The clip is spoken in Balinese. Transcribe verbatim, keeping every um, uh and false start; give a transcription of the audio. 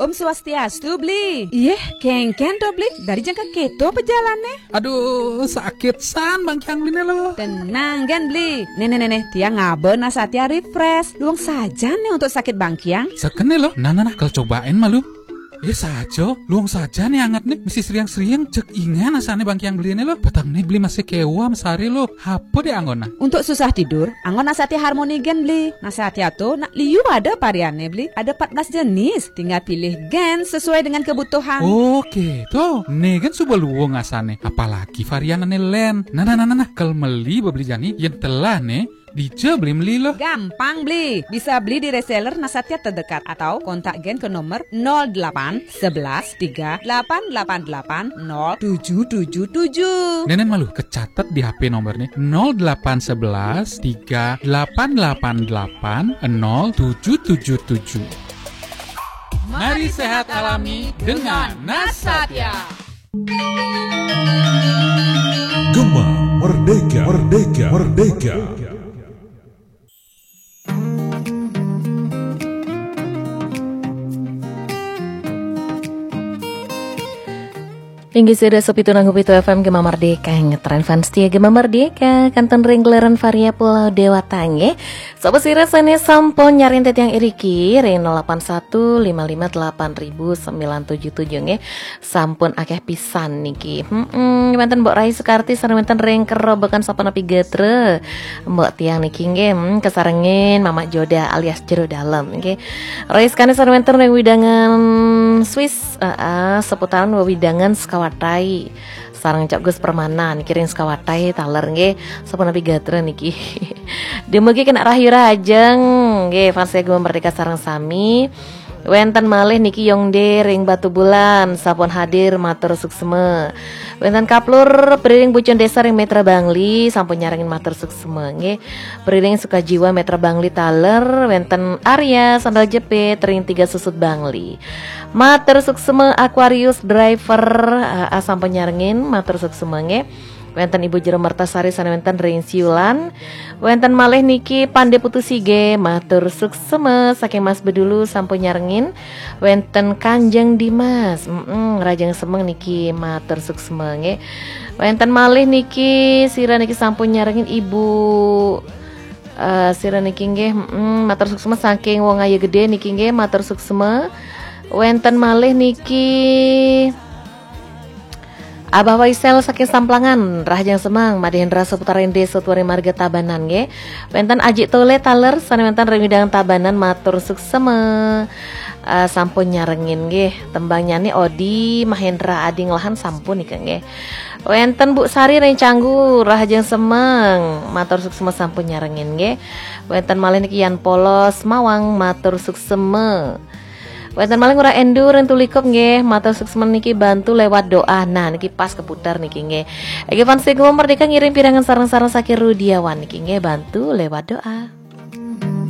Om Swastiastu, Bli. Iyeh, kéngkén to, Bli? Dari jang kakéto pejalane. Aduh, sakit san bangkiang Bline lo. Tenang gén, Bli. Nih, nih, nih, nih, tiang ngaba Nasatya Refresh. Luung saja nih untuk sakit bangkiang. Sekene lo. Nah, nah, nah, kal cobain malu. Eh, saja, luung saja nih anget nih, mesti sriang-sriang. Cek ingan asane bangkiang Bline lo. Petang nih Bli masih kewa mesari lo. Apa deh anggona? Untuk susah tidur, anggon Nasatya Harmony gén, Bli. Nasatya to nak liu ada varianne, Bli. Ada empat belas jenis. Tinggal pilih gén sesuai dengan kebutuhan. Oke, to. Nih kan suba luung asane. Apalagi varian ane len. Nah, nah, nah, nah, nah. Kal meli bebeli jani, yen telah nih, dija Bli meli lo. Gampang, Bli. Bisa beli di reseller Nasatya terdekat atau kontak gén ke nomor nol delapan sebelas tiga delapan delapan delapan nol tujuh tujuh tujuh. Nenen malu, kecatet di H P nomor nih, nol delapan sebelas tiga delapan delapan delapan nol tujuh tujuh tujuh. Mari sehat alami dengan Nasatya. Gema Merdeka, Merdeka, Merdeka. Inggih sira sapitu nanggu pitu F M Gema Merdeka, ngetren fans setia Gema Merdeka, kanten ring gelaran Varia Pulau Dewata nggih. Sapa sira sane sampun nyarengin tetiang iriki ring nol delapan satu lima lima delapan ribu sembilan tujuh tujuh nggih. Sampun akeh pisan niki. Hmm, wenten Mbok Rai Sukarti sareng wenten ring kerobekan sapa napi gatra. Mbok tiang niki nggih, hmm, kesarengin Mamak Joda alias Jero Dalem nggih. Rai sekane sareng wenten ring wewidangan Swiss, heeh, seputaran wewidangan Sekawatai. Sareng Cok Gus Permana niki ring Sekawatai taler nggih. Sapa napi gatra niki. Dumugi kena rahayu rahajeng nggih, fans Gema Merdeka sareng sami. Wenten malih niki Yongde ring Batubulan, sampun hadir, matur suksma. Wenten Kaplur Priring Bucun Desa ring Metra Bangli, sampun nyarengin, matur suksma nggih. Priring Sukajiwa Metra Bangli taler, wenten Arya Sandal Jepit ring Tiga Susut Bangli. Matur suksma. Aquarius Driver, ah, ah, sampun nyarengin, matur suksma nggih. Wenten Ibu Jero Mertasari sane wenten ring Siulan. Wenten malih niki Pande Putu Sige, matur suksma. Saking Mas Bedulu sampun nyarengin. Wenten Kanjeng Dimas, mm, rahajeng semeng niki, matur suksma nggih. Wenten malih niki, sira niki sampun nyarengin Ibu, eh, sira niki nggih, mm, matur suksma saking Wong Ayu Gede niki nggih, matur suksma. Wenten malih niki Abah Waisel saking Samplangan, rahajeng semeng, Madhe Hendra Saputra Ende Sotwari Marga Tabanan nggih. Wenten Aji Tole taler sane wenten ring wewidangan Tabanan, matur suksma. Eh, sampun nyarengin nggih. Tembangnyane Odi Mahendra Adi Nglahan sampun nika nggih. Wenten Bu Sari ring Canggu, rahajeng semeng, matur suksma sampun nyarengin nggih. Wenten malih niki Yan Polos Mawang, matur suksma. Wenten malih Ngurah Endu ring Tulikup nggih, matur suksma niki bantu lewat doa. Nah, niki pas keputar niki nggih. Nggih, fans Gema Merdeka ngiring pirengan sareng-sareng saking Rudiawan niki nggih, bantu lewat doa.